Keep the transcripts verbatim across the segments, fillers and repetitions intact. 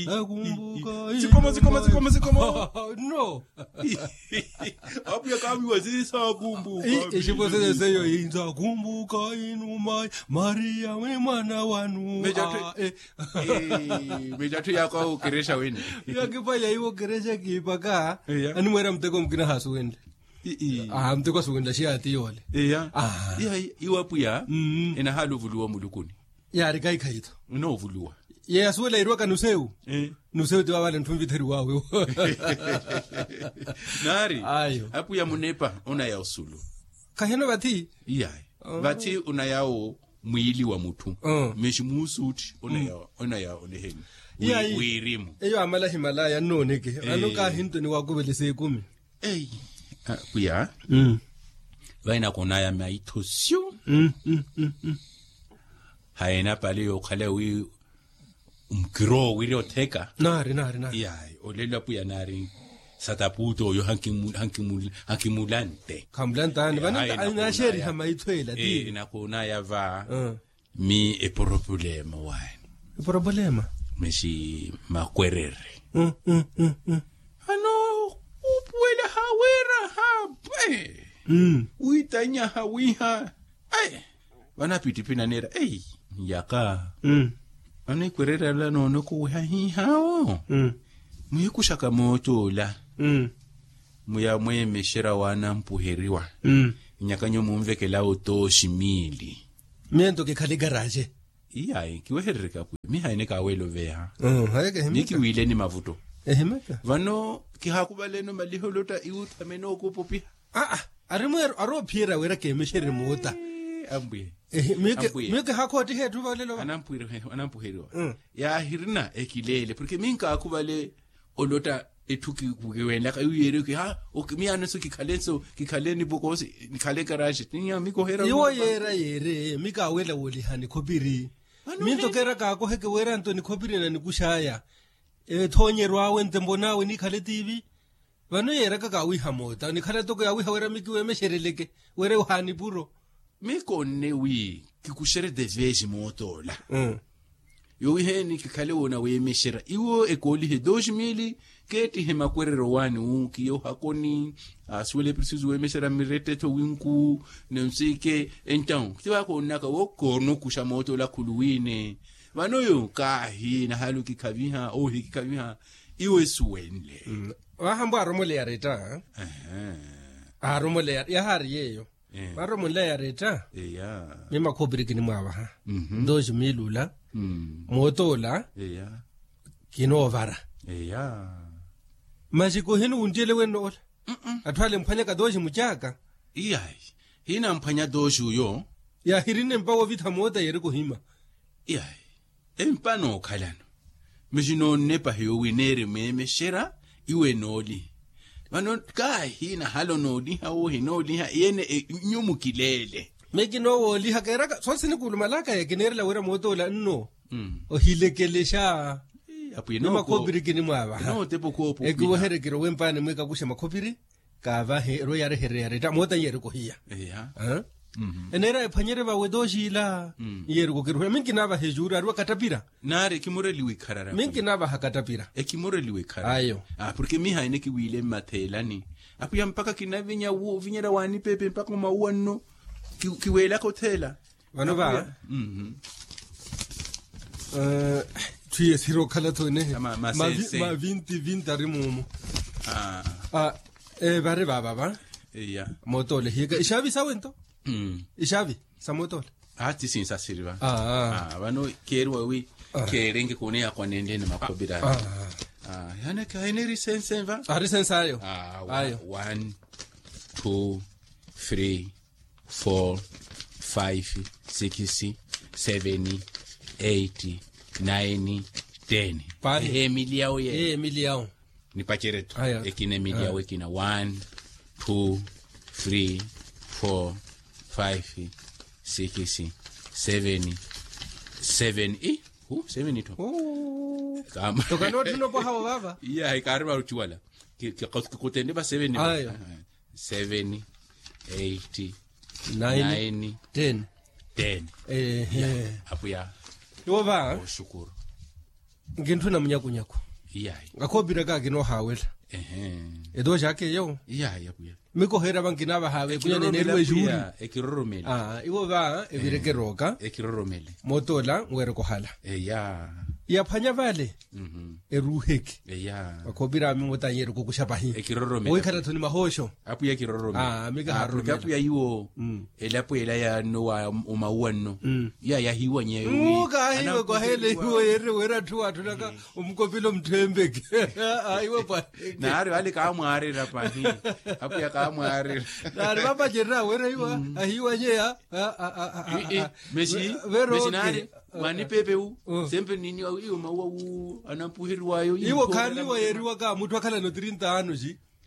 Akumbuka. Sikoma sikoma sikoma sikoma. No. Apuya kaviwa sisaakumbuka. Ixipwesele seyo insakumbuka inuma. Mariya wi mwana wanu. Mejatthu yako awo kerexa wene. Yakipwaya iwo kerexa kipaka. Animwera muteko mukina hasuwenle. Muteko asuwenle xiya ati yole. Iwa apuya. Enahala ovuluwa mulukuni. Yaari kaikhayi-tho. Onoovuluwa. Yeya suwela iriwaka nusewu. Nusewu ti wavale nthu nvitheriwawe. Naari. Apuya munepa onaya osulu. Kaheno vathi. Iyayi. Vathi onaya wo mwiili wa mutthu. Mexi muusuutti onaya oneheni. Iyayi. Wirimu. Eyo amala himalaya nnooneke vano kahinto ni wakuvelesa ekumi. Eyi. Pwiya. Vaina konaya maitho syu. Haina pale yookhala wi mukiroo wiri otheka. Naari naari naari. Yayi olelo apwiya naari. Sataputo oyo hankimulante. Khamulantani vano. Naxeeriha maitho ela ti nakonaya va. Mi eporopulema waani. Eporopulema. Mexi makwerere. Ano upuwela hawira hapwe. Witanya hawiha. Vano apittipina neera ei. Yaka. Vano ekwerere ala noonokoweha hihawo. Muhikuxaka mooto ola. Muya mweemexera waanampuheriwa. Nyaka nyo munvekelawo tooxi miili. Miento kikhale karaxe. Iyayi kiweherereke apwiya mihaine kaweela oveha. Mikiwiileni mavutto. Vano kihaakuvaleno maliha olotta iwuthamene okupopiha. Aa. Arimweero aroophiyerya wira keemexerye moota. Ambuye. Miyo kihaakhoottiha etthu valelo va. Anampuheriwa. Yaahirina ekileele porke minkaakuvale. Olotta etthu kiwenlaka iwo yeeriwe kiha. Miyaano nso kikhale nso kikhale nipokoosi nikhale karaxi. Iwo yeera yeere mi kaawela woolihani khopiri. Minto keera kaakoheke weera nto nikhopiri na nikux'aya. Ethoonyeryo awe ntempo n'awe nikhale tiivi. Vano yeeraka kaawiha moota nikhala toko yaawiha wira mikiweemexereleke. Wira ohaani puro. Mikonne wi kikuxere tevesi mootoola. Yowiheeni kikhale woona weemexera iwo ekoolihe dos mili. Keettihe makwerero waani wu kiya ohakoni. Asuwela eprisisu weemexera mirettetho winku. Nonsike entawu kitivakoonnaka wo koonokuxa mootoola khuluwiine. Vano yo kaahi nahalu kikhaviha ohi kikhaviha. Iwo esuwenle. Vahambwa aromoleya retta. Aaromoleya yahaari yeeyo. Vaaromonleya retta. Mimakhopiri kinimwaavaha. Dos mil ula. Mootoola. Kinoovara. Masi kohinuwunttiyele wenno ola. Atthu ale emphwanyaka dos mucaaka. Iyayi. Hinamphwanya dos uyo. Yaahirinne mpawo ovitha moota yeerika ohima. Iyayi. Empa nookhalano. Masi noonnepa hiyo wi neeri meemexera. Iwe nooliha. Vano kaahi nahalo nooliha wohi nooliha iyene. Nyu mukileele. Mekinoowooliha keeraka soosi nikuulumalaka yekineerela wira mootoola nno. Ohilekelexa. Ni makhopiri kinimwaavaha. Ekiweherekero wempani mwikakuxe makhopiri. Kaavahe erwe yaarehererya retta moota nyeerika ohiya. Eneera ephwanyerye vawe tooxiila. Nyeerika okiruhela minki naavaha ejuuri ariwa kattapira. Naari ekimureli wikharara minki naavaha kattapira. Ekimureli wikharara ayo. Porke mihayi nikiwiile mmatheelani. Apwiya mpakha kinavinya ovinyerya waanipepe mpakha omauwa nno. Kiweelaka otheela. Vano va. Twiye siri okhala-tho enehe. Mavinti vinti ari moomo. Vari vaava va. Mootoola ehiyeka ixaavi sawe nto. Ixaavi sa mootoola. Ati sinsasiri va. Vano keeriwa wi keerenge kuneya kwanenlene makhopira. Yaani kahineeri sense va. Ari sense ayo. Ayo. One, two, three, four, five, six, seven, eight, nine, ten. Ehe emili yawo ye. Emili yawo. Nipacereto. Ekina emili yawo ekina one, two, three, four, five, six, seven, seven i. Seven itho. Tokanootthuna opwaha wo vava. Iyahi kaari varuciwala. Kikutende va seven. Seven, eight, nine, ten. Ten. Ehe. Apuya. Iwo va. Oxukuru. Nkintthuna munyakunyaku. Iyayi. Akhoopiraka akinoohaawela. Ehe. Etooxaka eyo. Iyayi apwiya. Mikoheera vankinaavaha veekunya neneriwa exuuri. Ekiroromela. Iwo va evireke erooka. Ekiroromela. Mootoola nweereke ohala. Eya. Yaphwanya vale. Eruuheke. Eya. Akhoopira ami moota anyeereke okuxa pahi. Ekiroromela. Owiikhala tho ni mahooxo. Apwiya ekiroromela. Mikaharoromela. Apwiya iwo. Elapo ela yanno wa omauwa nno. Iya yahiiwanyeya. Kaahiiwe kwaheela iwo yeerire weera atthu waatthunaka omukopila omutthempeke. Iwe pwa. Naari ale kaamwaarira pahi. Apwiya kaamwaarira. Naari vapacerya weera iwa ahiiwanyeya. Mexi naari mwaanipepe wu. Sempre niniwa iyo mauwa wu anampuheriwayo. Iwo khaaniwa yeeriwaka mutthu akhalana otirinta anos.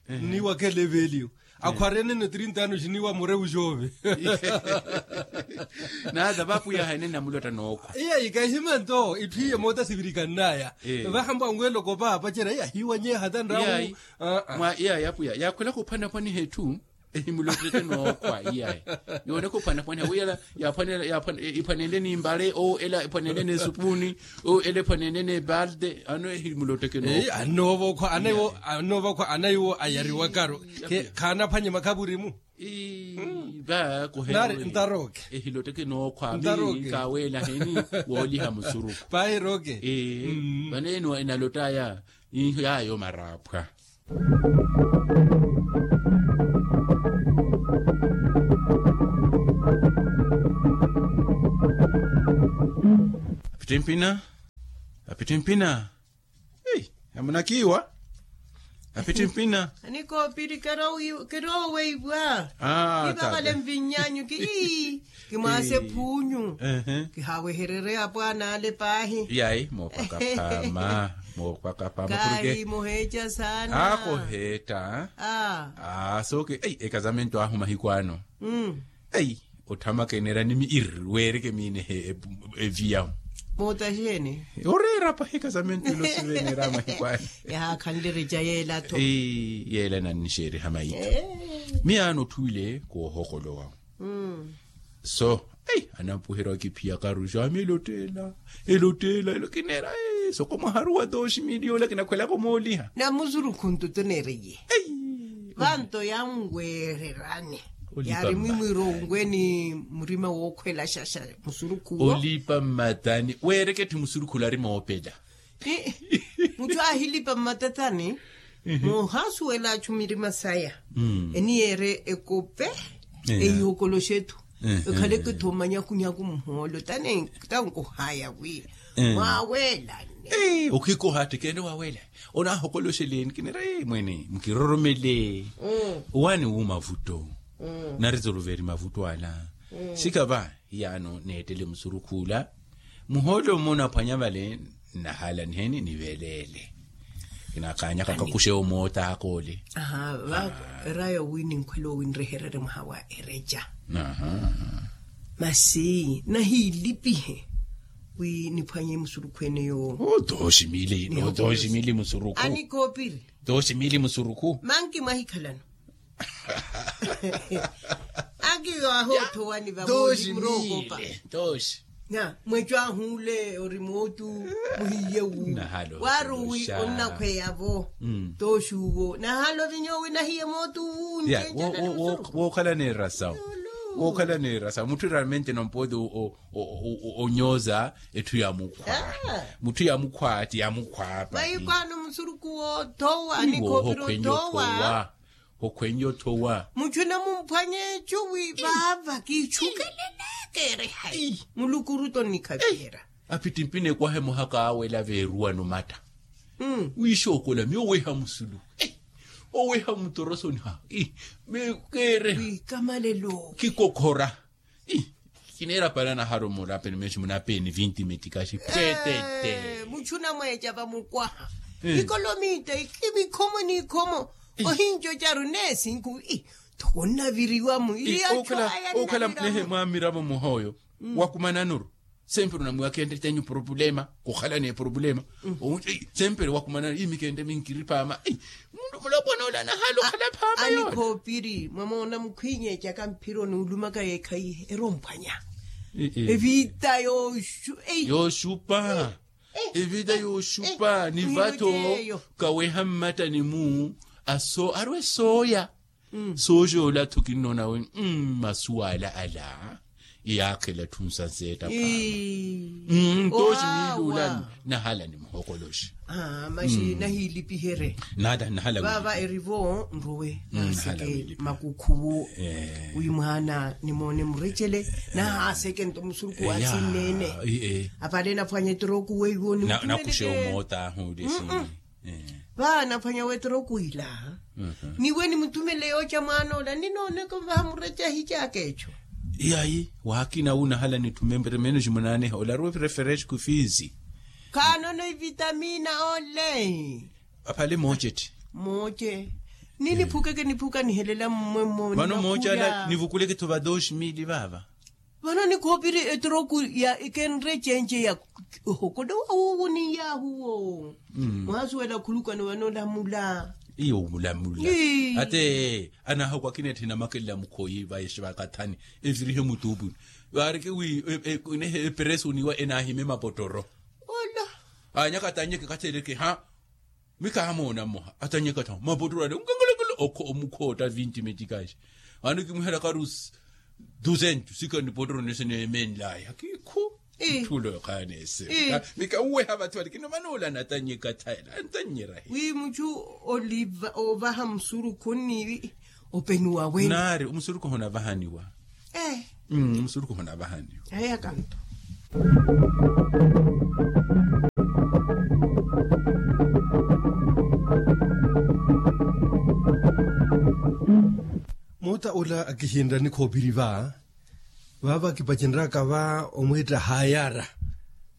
Niwa khelevelio akhwarenene otirinta anos niwa mureu xoove. Nata vapwiyaha ene namulotta nookhwa. Iya ikahima nto itthu iye moota sivirikannaya. Vahambo anweloko vaapacerya iya hiiwanyeha tanramu. Iya yapwiya yakhwelaka ophwanaphwaniha etthu. Ehimulotteke nookhwa iyayi. Yooneke ophwanaphwaniha wiyala. Iphwanenle nimbale oo ela iphwanenle nesupuuni. Oo ela iphwanenle nebalde ano ehimulotteke nookhwa. Annoova okhwa anaiwo annoova okhwa anaiwo ayariwakaro. Khaanaphwanye makhavurimu. Ii va koheeri ntaroke. Ehilotteke nookhwa mi kaaweelaheni wooliha musuruku. Paahi roke. Ee. Vaneeni enalottaya. Iho yaayo maraaphwa. Apittimpina. Apittimpina. Ei amunakiiwa. Apittimpina. Anikoopiri kerooweipwa. Kivakale mvinyanyu ki. Kimwaase phuunyu. Kihaawehererye apwaana ale paahi. Yayi mookwaka phama. Mookwaka phama. Kaari muheeca saana. Akoheetta. Aa sooke ei ekazamento ahu mahiku ano. Ei otthamakeneera ni mi irri weereke miinehe. Eviyahu. Moota xeeni. Oreera pahi ekazamento ilo siveneera mahiku ano. Yahaakhanle ereca yeela-tho. Yeela enannixeeriha maitho. Miyaano otthuwile koohokolowa. So ei anampuherya wakiphiyaka aruxo ami elotteela. Elotteela elo kineera. Soko mwaharuwa tooxi miliyo ola kinakhwelaka omooliha. Na musurukhu nto toneeriye. Vanto yanweererani. Yaari mwimwiiro onweeni murima wookhwelaxaxa. Musurukhu wo olipa mmatani weereke etthu musurukhu ola ari moopela. Mutthu aahilipa mmatatani. Moohaasuwela achu mirima saya. Eniyeere ekope. Eihokoloxe etthu. Ekhaleke-tho manyakunyaku muhoolo tani tankuhaya wi mwaweelane. Okhikoha attikene waweela. Onaahokoloxeleni kineera mweene mukiroromele. Owaani wu mavutto. Nari zoluveri mavutto ala. Sikava hiyaano neettele musurukhu ola. Muhoolo mmo naphwanya vale. Nnahaala niheni niveleele. Kinakaanyaka kakuxe omoota akoole. Eraya wi ninkhwela owinrehererye mwaha wa ereca. Masi nahiilipihe wi niphwanye musurukhu ene yoowo. Tooximili musurukhu. Anikoopiri. Tooximili musurukhu manki mwahikhalano. Akiwaha othowani vamooli murookopa. Tooxi. Mweco ahuule ori mootu muhiye wu. Waaruwi onnakhweya-vo. Tooxi uwo nahaala ovinya owi nahiye mootu wu. Wookhala neerasa. Wookhala neerasa mutthu realmente nompoote. Onyooza etthu ya mukhwa. Mutthu ya mukhwa ati ya mukhwa apa. Vahikwano musuruku woothowa ni khopiri otthowa. Hokhwenye othowa. Muchuna mumphwanye echuwi vava kichukelelekere hai. Mulukuru tonikhaviyera. Apittimpina ekwaha emoha kaawela veeruwano matta. Wiixookola miyo oweha musulu. Oweha mutorosoni ha. Mekeere wikamalelo. Kikokhora. Kineera para nahara omurapeni meexi munapeni vinti metikaxi pwetete. Muchuna mweeca vamukwaha. Ikolomita ikhivi ikhomo n'ikhomo. Ohinco caru neesinku. Thoko nnaviriwa mu iriyacho aya. Okhala nehe mwamiravo muhooyo wakumananuru. Sempre unamwiwa khentte tenyu problema. Khukhala n'eproblema. Sempre wakumananuru imi khentte minkiri phaama. Mundu mulopwana ole anahaala okhala phaama yoole. Anikhoopiri mwamoona mukhwiinyeecaka mphiro n'ulumaka yeekhaihe eromphwanya. Eviita yooxupa. Evita yooxupa ni vattho. Kaweha mmattani-mu aso arwe sooya. Sooxoola-tho kinnoona wi. Masuwala ala yaakhela tthunsa nseetta paama. Ntooxi miili ula nahala nimuhokoloxe. Maxi nahiilipiherye. Nahala vava erivo nruwe naseke makukhuwu. Wi mwaana nimoone murecele nahaaseke nto musuruku wa sinneene. Apale naphwanya etroku weiwo nakuxe omoota ahu ulesi. Vaa naphwanya wetroku ila. Niwe nimuthumele yooca mwaana ola ninooneke ovaha mureca ahicaaka eco. Yayi waakina wu nahala nithume mperemeeno ximunaaneha ola aruwe fresh kufiisi. Khaanono ivitamina ole. Aphale mooce tthi. Mooce. Ni niphukeke niphuka nihelela mmwe mmwe vano mooce ala nivukuleke-tho va dos mili vaava. Vano nikhoopiri etroku ya ikenre cenje ya ohokodowa wuwo ni yaahuwo. Mwaasuwela khulukano vano olamula. Iyo olamula. Ate anahakwakina etthe namakelela mukhoyi vayexe vakathani evirihe mutuupuni. Vaareke wi eperesu niwa enahime mapotoro. Ola. Anyaka atanyeke kathereke ha. Mikahamoona mmoha atanyeka thawa mapotoro ale nkangalakala. Omukhootta vinti metikaxi. Ano kimwihelaka rusi duzento sika nipotoro nese neemenlaya kikhu. Ntthula yokhayanese mika uweha vathu vale kino vanoolana atanyeka thayela antannyerahi. Wi muchu oliva ovaha musurukhu ni openuwa wene naari omusurukhu hunavahaniwa. Musuruku hunavahani. Eya kanto. Moota ola akihinra nikhoopiri va vava kipacenryaka va omwiitta hayara.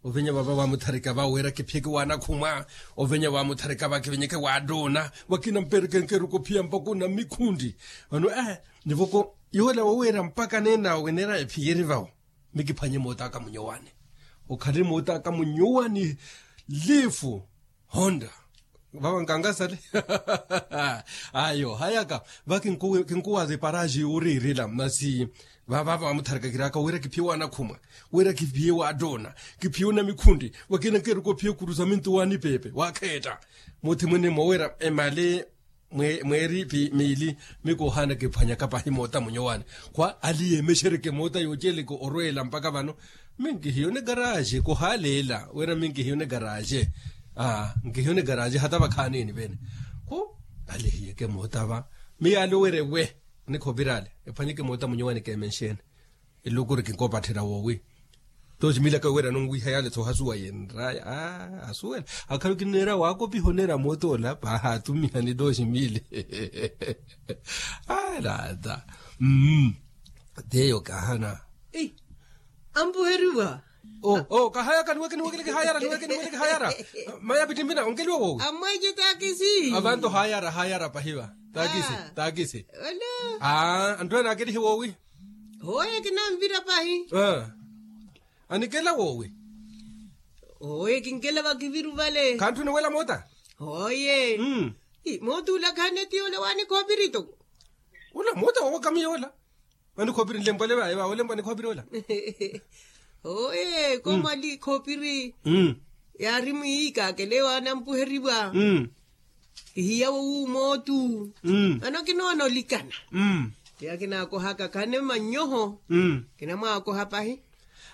Ovenya vava vamutharika va wira kiphiyeke wanakhumwa. Ovenya vamutharika va kivenyeke watoona vakina mperekenkeruko phiya mpaka ona mikhunti. Vano e nivoko yoola woweera mpaka neenawe neera ephiyeri vawo. Mikiphwanye mootaka munyowani. Okhalini mootaka munyowani lifu honda vava nkankasale. Ayo hayaka va kinkuwaza eparaji uriirila masi vavava vamutharikakiraka wira kiphiye wanakhumwa wira kiphiye watoona kiphiye onamikhunti wakina nkeruka ophiye kurusa mintu wanipepe wakheetta. Muthi mwene mowira emali mweeri miili. Mikoohaana kiphwanyaka pahi moota munyowani khwa aliyeemexereke moota yooceleke orweela mpaka vano. Minkihiyone karaxe kuhaaleela wira minkihiyone karaxe. Nkihiyone karaxe hata vakhaanini vene khu alihiyeke moota va miyaale owira ewe. Nikhovirale ephwanyeke moota munyowani keemenxene. Elukuri kinkopatthera woowi. Toximilaka werano nwiha yaale-tho ohasuwa yenraya asuwela. Akhalu kineera waakopiha oneera mootoola paaha atumihani toximili. Alata. Teyo kahana. Ampuheriwa. Kahayaka niweke niwekele kihayara niweke niwekele kihayara. Maya pittimpina onkeliwa woowi. Amweece takisi avanto hayara hayara pahiva. Takisi. Takisi. Anthu ene akelihe woowi. Hooye kinanvira pahi. Anikela woowi. Hooye kinkela vakiviru vale khantthu niwela moota. Hooye. Moota ula khaneti ole wanikhoopiri to. Ula moota wowakamiya ola. Wanikhoopiri nlempwale vaye vawe olempwa nikhoopiri ola. Hooye komwali khoopiri. Yaari mwiikakele wanampuheriwa. Ihiya wowu mootu. Vano kinoona olikana. Tiya kinaakohaka khane mannyoho. Kinamwaakoha pahi.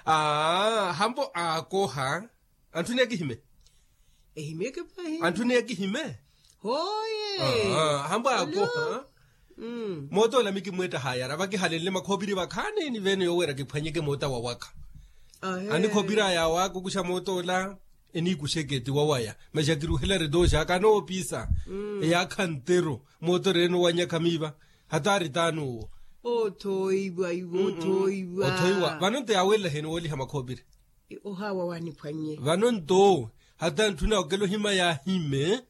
Hambo aakoha. Anthu ni akihime. Ehimeke pahi anthu ni akihime. Hooye. Hambo aakoha. Mootoola mikimweetta hayara vakihalenle makhoopiri vakhaaneni vene yoweera kiphwanyeke moota wawaka. Anikhoopiri aya awaaka okuxa mootoola. Eniikuxeke ti wawaya masi akiruhela retooxa akanoopisa. Eyaakha ntero mootoreene owanyakha miiva. Hata ari taani owo. Othooiwa iwe othooiwa. Othooiwa vano nto yaawelela heni wooliha makhoopiri. Ohaawa waniphwannye vano nto hata ntthuna okela ohima yaahime.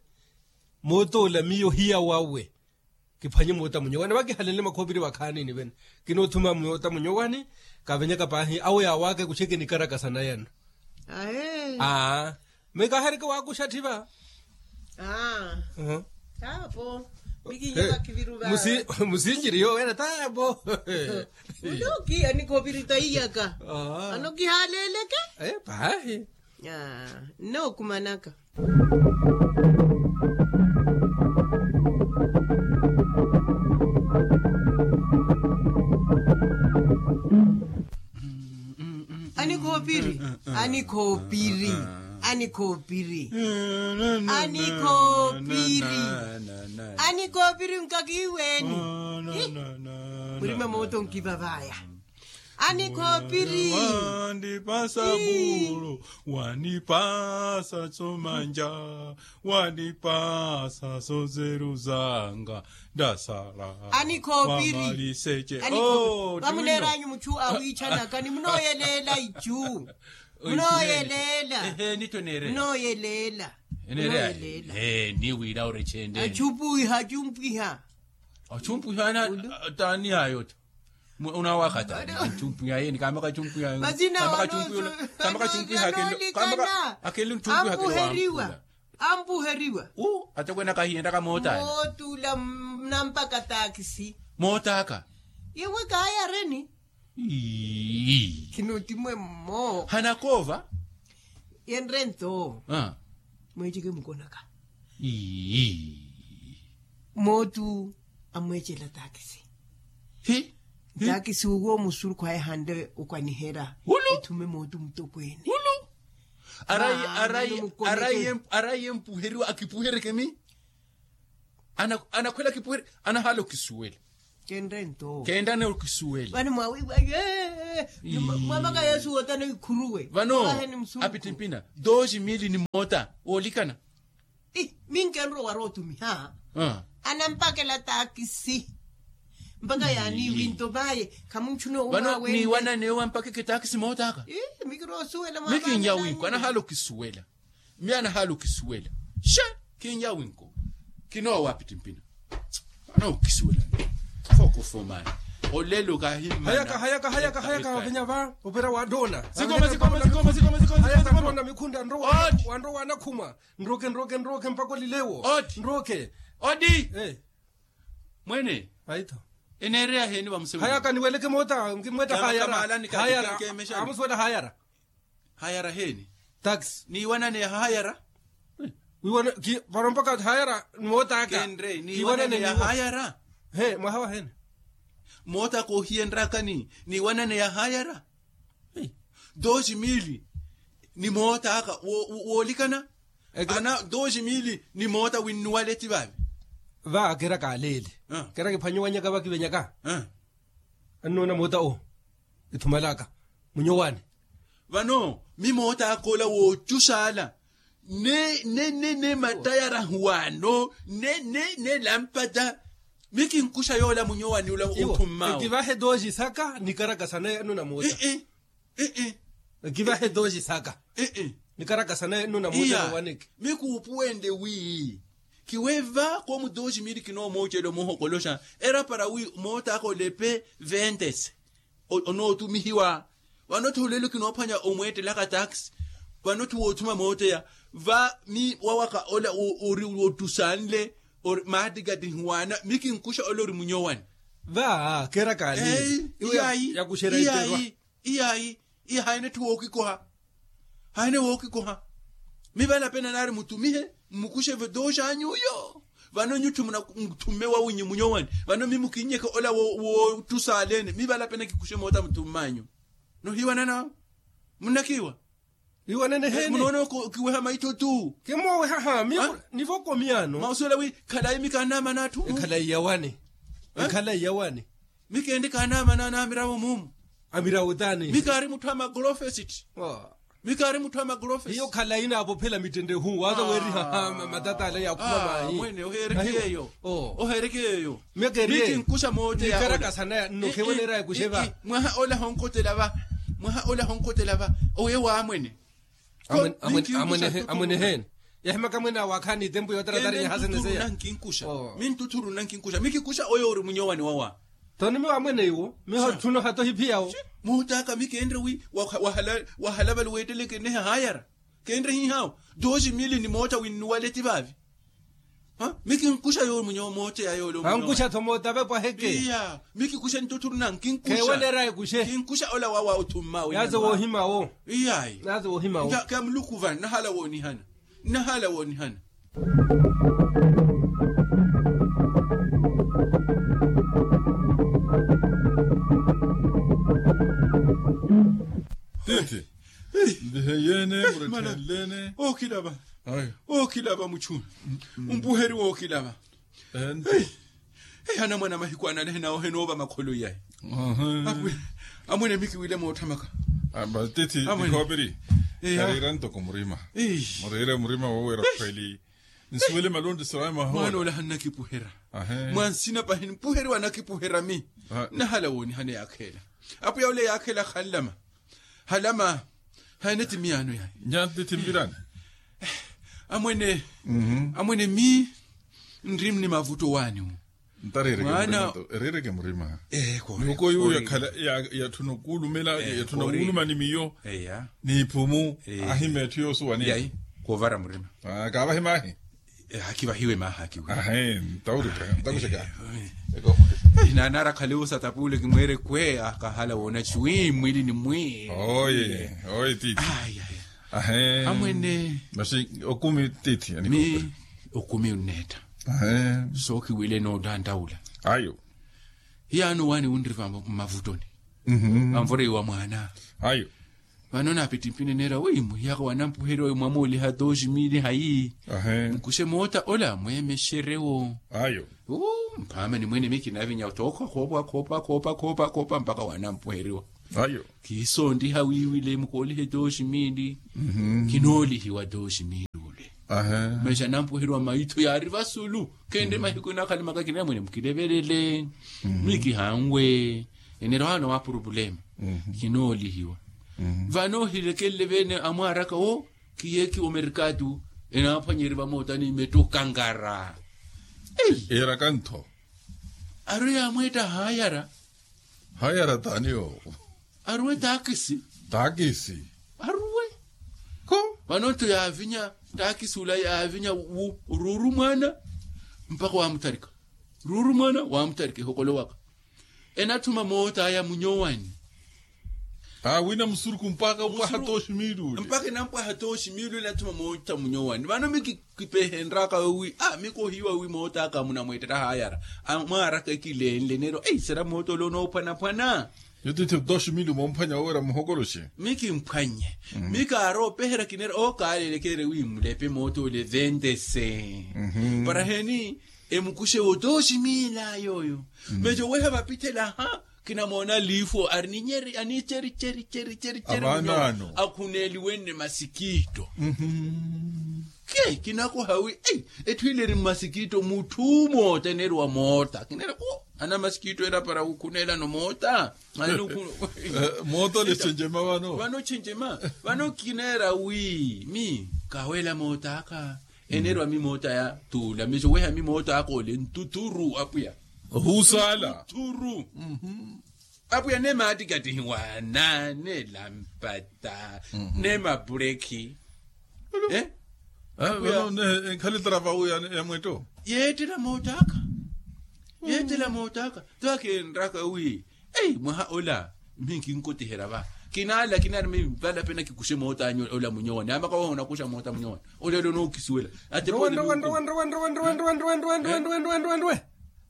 Mootoola miyo hiya wawe. Kiphwanye moota munyowani vakihalenle makhoopiri vakhaanini vene. Kinoothuma moota munyowani kavenyaka paahi awo yaawaka ekuxeke nikarakasa nayano. Ae. Mikahereke waakuxa tthi va. Aa. Taapo mikinya vakiviru va. Musinjiri yowela taapo. Muloki anikhoopiri taiyaka. Ano kihaaleleke. Paahi. Aa, nnookumanaka. Anikhoopiri, anikhoopiri, anikhoopiri, anikhoopiri, anikhoopiri nkakiiweeni. Murima mooto nkivavaya. Anikhoopiri. Wandipasa bulu, wandipasa somanja, wandipasa sozeru zanga, ndasala. Anikhoopiri. Vamuneeranyu muchu awiichanaka ni munooyeleela ichu. Munooyeleela. Munooyeleela. Niwira orechende. Achumpuiha, achumpuiha. Achumpuiha. Taani yayo ta. Unawakata. Achumpuiha yeni kama kachumpuiha. Mazina. Akeli nchumpuiha. Ampuheriwa. Ampuheriwa. Atakwena kahiyentaka mootani. Mootula. Nampaka taakisi. Mootaka. Iwe kaayareni. Khinotimwe mmo. Hanakoova. Yenrento. Mweeceke mukonaka. Mootu amweecela taakisi. Taakisi uwo musurukhu aye hande okwanihera. Ethume mootu mutokweene. Arayi arayi arayi empuheriwa akipuhereke mi. Anakhwela kipuweri. Anahaala okisuwela. Kenrento. Kenrane okisuwela. Vano mwawiiwa ye. Mwamaka yesu wotana ikhuruwe. Vano apitimpina doji mili ni moota woolikana. Minkenrwa wari otumiha. Anampakela taakisi. Mpaka yaani winto vaye. Khamunchuna owo vano. Niiwanane owo ampakeke taakisi mootaka. Mikirosuwela mwa mikinya winko anahaala okisuwela. Miyo anahaala okisuwela. Xa. Kinya winko. Kinoowa apitimpina. Anaokisuwela. Fokofomani. Olelo kahimmana. Hayaka hayaka hayaka hayaka venya va opera wa dona. Sikoma sikoma sikoma sikoma sikoma sikoma. Dona mikhunda nrowa. Wandrowa anakhuma. Nroke nroke nroke mpaka olilewo. Nroke. Odi. Mwene. Aito. Eneereya heni vamusewela hayaka niweleke moota nkimwetta hayara. Hayara. Amusuwela hayara. Hayara heni. Taxi niiwanane ya hayara. Vano mpaka hayara ni mootaka. Kenre niiwanane ya hayara. He mwaha wahene. Mootaka ohiyenrakani niiwanane ya hayara. Doji mili ni mootaka woolikana. Ana doji mili ni moota winnuwaleti vavi. Va kera kaleele. Kera kiphwanyowanyaka vakivenyaka. Annoona moota o ithumalaka munyowaani. Vano mi mootaka ola woocuxala ne ne ne ne matayarahu wano ne ne ne lampata. Mi kinkuxa yoola munyowaani ula othummao. Ekivahe dooji saka nikarakasa naye annoona moota. Ekivahe dooji saka nikarakasa naye annoona moota. Waneke mi kuupuwende wi kiweva koomu dooji mili kinoomoocela omuhokoloxa. Era para wi mootaka olepe ventese onootumihiwa. Vano tholelo kinoophwanya omweettelaka taxi. Vano tthi woothuma mooteya va mi wawaka ola ori wottusanle. Ori maattikattihi waana mi kinkuxa ola ori munyowani. Va keera kaali iwe yakuxerya iterwa. Iyayi iye haine tthi wookikoha. Haine wookikoha. Mi valapena naari mutumihe mmukuxe vetooxanyu uyo. Vano nyutthu munathumme wawinyu munyowani. Vano mi mukinnyeke ola woottusaleene mi valapena kikuxe moota muthumm'anyu. Nohiiwanana? Munnakiiwa? Iwanene heeni. Munoona okiweha maitho tu. Kimooweha haami. Nivokomi ano mausuwela wi khalayi mi kaanaamana atthu. Ekhalayi yawani. Ekhalayi yawani. Mi keende kaanaamana na amiravo muumu. Amiravo taani mi kaari mutthu a magrofesiti. Mi kaari mutthu a magrofesiti. Hiyo khalayi naavophela mittendehu waaza weeriha matata ale yaakhuma maayi. Mwene oheereke yeeyo. Oheereke yeeyo. Mi kinkuxa moote ya ola. Mwaha ola honkhotela va. Mwaha ola honkhotela va. Owe waamwene. Amwene heeni. Yahimaka mwene awaakhaani itempu yootaratari yahaseneseya. Minttuthuru nnankinkuxa mi kikuxa oyo ori munyowani wawa. Toni miwa amwene iwo miho tthuno hato hiphiyawo. Muhutaaka mi keenre wi wahalavali weetteleke nnehe haayara. Keenre hiihaawo dooxi mili ni moota winnuwale ti vaavi. Mi kinkuxa yoomunyo mooteya yoole omunyo ankuxa tho moota vepwaheke. Iya. Mi kikuxe ntuthuruna nkinkuxa. Kheewelera ekuxe. Kinkuxa ola wawa othummaawe yaaze woohima wo. Iyayi. Yaaze woohima wo. Kemuluku vana nahala woonihana. Nahala woonihana. Tiithi. Ndiheyeene muretthenlene. Ookilava. Ookilava muchuna. Mpuheri wookilava. Anamwana mahiku analehe nawo henoova makholo iyayi. Amwene mi kiwile mootthamaka. Tiithi ikhooperi. Kariira ntoko murima. Muriire murima wooweera khweli. Nsuwele malonti siraya mahoona mwaanoola hannakipuhera. Mwansina pahi mpuheriwa anakipuhera mi. Nahala woonihana yaakheela. Apwiya ole yaakheela khanlama. Halama. Haene ti miyaano yaani. Nyanti ti mvirani. Amwene. Amwene mi nri ni mavutto waani wu. Ntarireke murima. Mihuko yuwo yakhala yatthuna okuulumela yatthuna wuuluma ni miyo. N'iphumu. Ahima etthu yoosuwaniya. Khuuvara murima. Kaavahi maahi. Hakivahiwe maha akiwe. Ahe. Ntaurika ntakuxeka. Nanara khale osatapuule kimweere kwe akahala woona chiwi mwili ni mwili. Oye. Oye tiithi. Ahe. Amwene. Maxi okumi tiithi. Mi okumi unneetta. Ahe. Sookiwile noottanttaula. Ayo. Hiyaano waani wunri vamavuttoni. Anvoreiwa mwaana. Ayo. Vano naapittimpini neera wi muhiyaka wanampuheriwa wi mwamooliha tooxi miili hayi. Mukuxe moota ola mweemexerewo. Ayo. Mphaama ni mwene mi kinavinya otookha khoopa khoopa khoopa khoopa khoopa mpakha wanampuheriwa. Ayo. Kiisoontiha wiiwile mukoolihe tooxi miili. Kinoolihiwa tooxi miili ule. Mexa nampuheriwa maitho yaari vasulu. Khenre mahiku nakhalimaka kinira mwene mukilevelele. Mi kihanwe. Enerohano wa purupulema. Kinoolihiwa. Vano ohilekelele vene amwaaraka wo. Kiyeeki omerkatu enaaphwanyerye vamootani metto kankara. Eeraka ntho. Arwe yaamweetta haayara. Haayara taani yoowo? Arwe taakisi. Taakisi. Arwe. Ko. Vano ntho yaavinya taakisi ula yaavinya wu ruuru mwaana. Mpakha waamutharika. Ruuru mwaana waamutharika ehokolo waka. Enathuma mootaya munyowani. Aawina musuruku mpakha opwaha tooxi miili ule. Mpakha enampwaha tooxi miili ule enathuma moota munyowani vano mi kipehenraka wi a mi kohiiwa wi mootaka munamweettetta haayara. Amwaaraka ekilenle neero ei sera moota ole onoophwanaphwana. Yo tiithi tooxi miili moomphwanya woowerya muhokoloxe. Mi kimphwannye. Mi kaarowa opeherya kineera ookaalelekere wi mulepe moota ole ventese. Para heni emukuxe wo tooxi miila yooyo. Meexa oweha vapithela ha kinamoona liifwo ari ninyeri aniicheri cheri cheri cheri cheri. Akhuneeliwenne masikitto. Ke kinakoha wi ei etthu ile eri mmasikitto mutthu moota eneeriwa moota kineera ku anamasikitto ela para wukhuneelano moota. Moota ole chenjema vano vano chenjema. Vano kineera wi mi kaweela moot'aka. Enerwa mi moota ya tuula miso weha mi moota ako ole ntuthuru apwiya. Ohuusaala ntuthuru. Apwiya ne maattikattihiwana ne lampata ne mapurekhi. Ekhale tarava uya ya mwetto. Yeettela moota aka. Yeettela moota aka. Twakenraka wi ei mwaha ola mmi nkinkotiherya va. Kinaala kinaari mi vala pena kikuxe moota anyu ola munyowani amaka wahoona kuxa moota munyowani. Ola ola onookisuwela ate pole.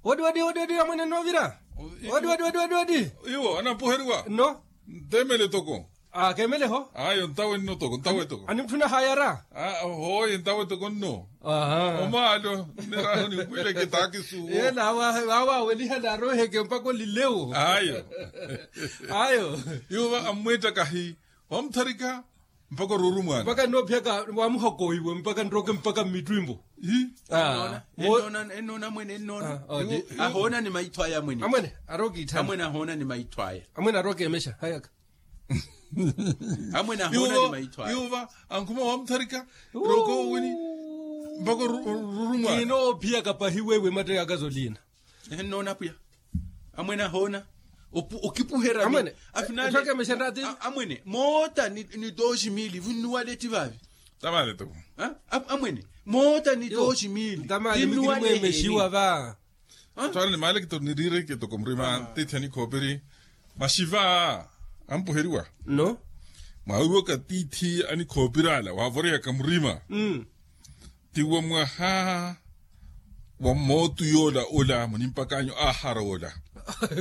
Wadi wadi wadi wadi amwene novira. Wadi wadi wadi wadi wadi. Iwo anapuheriwa no. Ntemele toko. Akemeleho ayo ntawe nno toko ntawe toko. Animutthuna hayara. Hoye ntawe toko nno. Omaalo niraho nikwileke taakisuwo. Yela wawa weliha naroheke mpaka olilewo. Ayo. Ayo. Yuva ammwiittakahi wamutharika mpaka oruuru mwaana mpaka nnoopihaka wamuhokowiwe mpaka nroke mpaka mmittwimbo. Ennoona mwene ennoona ahoona ni maitho aya amwene. Amwene arokiitthana amwene ahoona ni maitho aya. Amwene arokeemexa hayaka. Amwene ahoona ni maitho aya. Yuva ankhuma wamutharika roko wini mpaka oruru mwaana. Kinoophiya kapahi wewe matteyaka zoliina. Ehe nnoona apwiya. Amwene ahoona okipuherya amwene. Afinale amwene moota ni tooxi miili vunnuwale ti vaavi. Tamale toko. Amwene Moota ni tooxi miili. Ntamali mikirimwemexiwa va. Twaana ni maali kitoko niriire kitoko murima tiithi anikhoopiri. Maxiva ampuheriwa no. Mwaawiriwaka tiithi anikhoopiri ala waavoreyaka murima. Tiwa mwaha wa mootu yoola ola munimpakanyu ahara ola.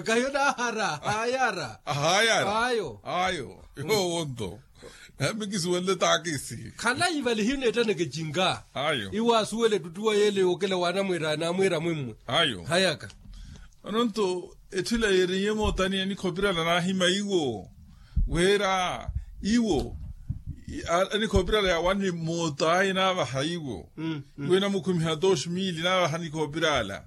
Kayo naahara ahayara. Ahayara ayo ayo. Yoowo nto. Namikisiwenle taakisi. Khalayi vale hiyo neettaneke cinka. Ayo iwo asuwele ettutthuwa yeele yookela waanamweera namweera mwimmwe. Ayo hayaka. Ononto etthu ila yeeriye mootani anikhopirala naahima iwo weera iwo anikhopirala yawanne moot'aya naavaha iwo. Iwo enamukhumiha tooxi miili naavaha anikhopirala.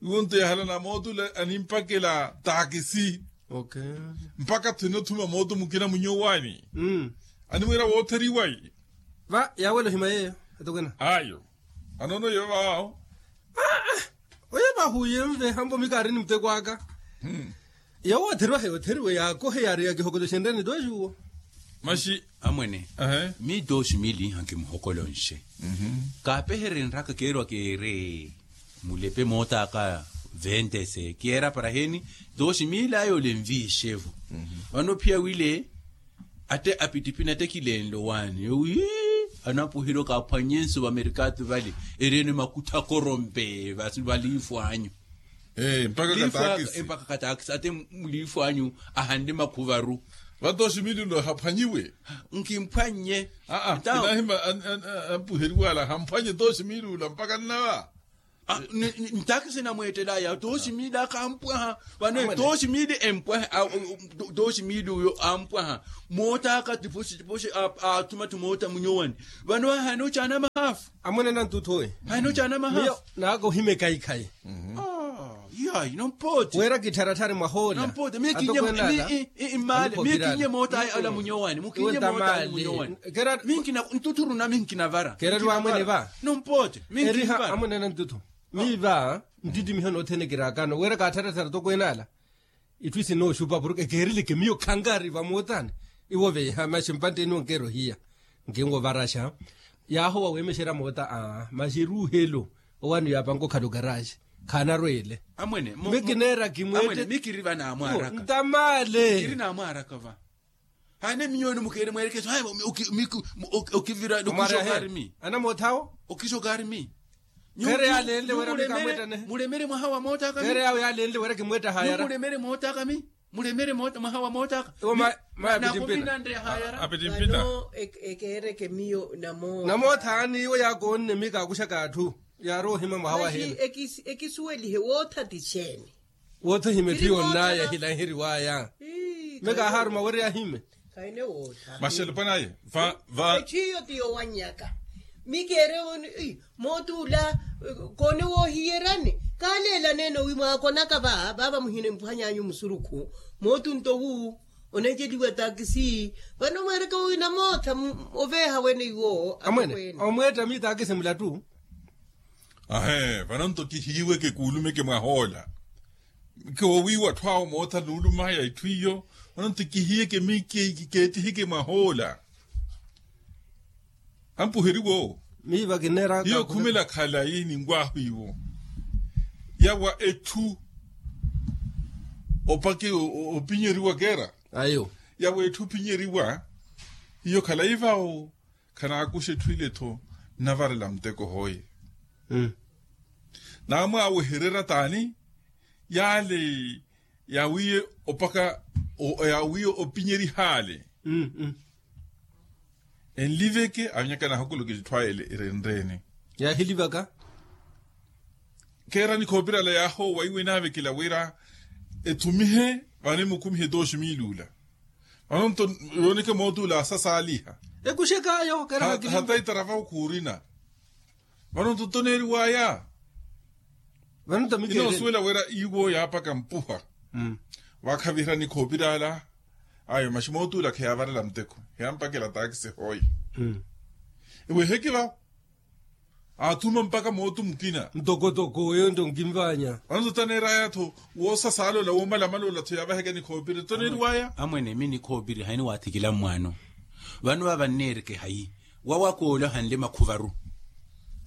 Iwo nto yahala na moot'ula animpakela taakisi. Mpaka tthuna othuma mooto mukina munyowani. Animwiira wootheriwa. Va yaawela ohima yeeyo atokwena ayo. Anono yeyo vaawo. Oyo vahuye mve hambo mikaari ni muteko aka. Yawootheriwa heyootheriwe yaakohe yaari ya kihokoto xenreni tooxuwo. Maxi amwene. Mi tooxi miili hankimuhokolonxe. Kaapeherenraka keerwa keere mulepe moot'aka ventese kiyeera para heni. Tooxi miili ayo olenviixevo. Vano phiya wile ate apitipina ate kilenlo waani wi anapuhelo kaaphwanye nsuva merkatu vale. Erene makuttha korompe valiifwanyu. Mpaka kataakisi ate muliifwanyu ahanle makhuvaru. Vato osimililo haphwanyiwe. Nkimphwannye. Aa kinahima. Ampuheriwala hamphwanye to osimilula mpaka nnava. Ntaakisi namweettelaya to osimilaka ampwaha. Vano to osimili empwaha. To osimili uyo ampwaha. Moottaka tiposi tiposi. Atuma tumoota munyowani. Vano ahana ocaana mahafu. Amwene nantuthowe. Ahana ocaana mahafu. Naaka ohimeka ikhayi. Yayi nompoote. Weera kittharatthari mwahoola. Nompoote mikinye. Mmale mikinye mootayi ala munyowani mukinye mootayi munyowani. Minkina ntuthuru na minkina vara. Keerari wamwene va. Nompoote minkina vara. Amwene nantutho. Miva nttittimiho nothene kiraakano weera kaattharatthara tokweene ala. Itthu isinooxupa porke keerileke miyo khankari vamootani. Iwo veiha maxi mpantteni onkeera ohiya. Nkinwovaraxa. Yaahowa weemexerya moota aa maxi eruuhelo. Owaani yaapanka okhala okaraxi khaanarweele. Amwene. Mikineera kimweette. Mikiri va naamwaaraka. Ntamale. Mikiri naamwaaraka va. Hane minyoni mukeere mwerekeso haya. Okivira okishokarimi. Anamootthawo. Okishokarimi. Kheere yaalenle weera mikamwettanehe. Mulemere mwaha wa moottaka. Kheere yawo yaalenle weera kimweetta hayara. Mulemere moottaka mi. Mulemere mwaha wa moottaka. Nakovinanre hayara. Vano ekeereke miyo namootha. Namootha ani iwo yaakoonne mi kaakuxaka atthu. Yaarowa ohima mwaha wa hela. Ekisuwelihe wootha ti xeeni? Wootha ohima etthu yonnaya ehilanheriwaya. Mi kaahaaruma weri ahime. Maxelupanaye. Etthu iyo ti yowannyaka. Mi keere. Moot'ula koone woohiyerani. Kaaleelaneene wi mwaakonaka va vaava muhina empuhanyanyu musurukhu. Moot'unto wu oneceliwa taakisi. Vano mweereke wina mootha oveeha wene iwo. Amwene omweetta mi taakisi mulattu. Ahe vanonto kihiiweke kuulumeke mwahoola. Koowiiwa atthu awo mootha nuulumaya itthu iyo. Vanonto kihiyeke mi keetiheke mwahoola. Ampuheriwa owo. Miiva kineeraka hiyo khumela khalayi ninwaahu iwo. Yawa etthu opake opinyeriwa keera. Ayo yawa etthu opinyeriwa. Hiyo khalayi vawo. Khanaakuxa etthu ile-tho nnavarela muteko hoye. Naamwaawehererya taani? Yaale yaawiye opaka yaawiye opinyerihaale. Enliveke avinyaka naahokoloke etthu ayo erenreene. Yaahilivaka. Keera nikhoopirala yaahoowa iwe naavekela wira ethumihe vano emukhumihe tooxi miiluula. Vano nto yooneke moot'ula asasaaliha. Ekuxekaayo keera hata itarava okhuurina. Vano nto toneeriwaya. Vano nto mikeele inoosuwela wira iwo yaapaka mpuha. Vaakhaviherya nikhoopirala. Ayo maxi moot'ula kheyaavarela muteko. Kheyaampakela taakisi hooye. Eweeheke vavo. Aathuma mpaka mootu mukina. Ntokotoko oyo nto nkinvanya. Vano nto taneeraya-tho woosasaalola woomalamalola-tho yaavaheke nikhoopiri nto neeriwaya. Amwene mi nikhoopiri hayi niwaathikila mmwaano. Vano vaava nneereke hayi? Wawakoole ohanle makhuvaru.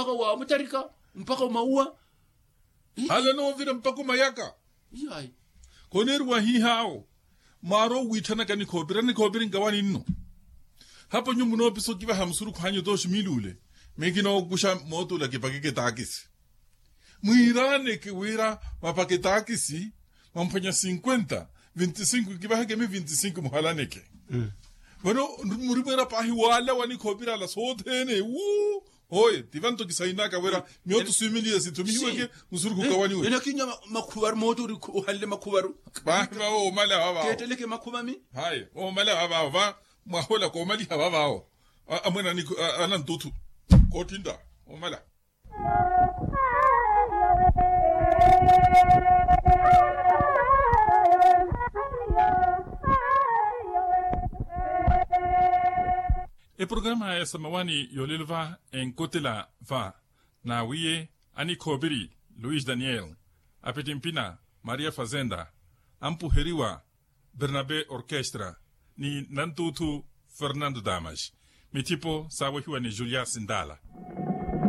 mpakha wa mutarika, mpakha wa mauwa. Hale noovira mpakha omayaka. Iyayi. Koneeriwa hihaawo. Mwaari owiithanaka nikhoopiri nikhoopiri nkawani nno. Hapo nyuwo munoopisa okivaha musurukhu anyu tooxi miiluule. Miyo kinookuxa mootula kipakeke taakisi. Mwiiraaneke wira mapake taakisi, mwamphwanya cinquenta, vinti cinco kivaheke mi vinti cinco muhalaneke. Vano murimweera paahi waala wa nikhoopiri ala sothene wuu. Hoye ti vanto kisainaka wira mioto swimiliya sithumihiweke. Musurukhu kawaniwe. Ena kinya makhuvaru moto ori ohanle makhuvaru. Paahi vawo omala vavao keetteleke makhuvami. Haye omala vavao va mwahola koomaliha vavao. Amwene anantutu koottintta omala. Eprograma ya samawani yolelo va enkotela va nawiye anikhoopiri luis daniel, apittimpina maria fazenda, ampuheriwa bernabe orkestra, ni nantuuthu fernando damas. Mittipo saawehiwa ni julias ndala.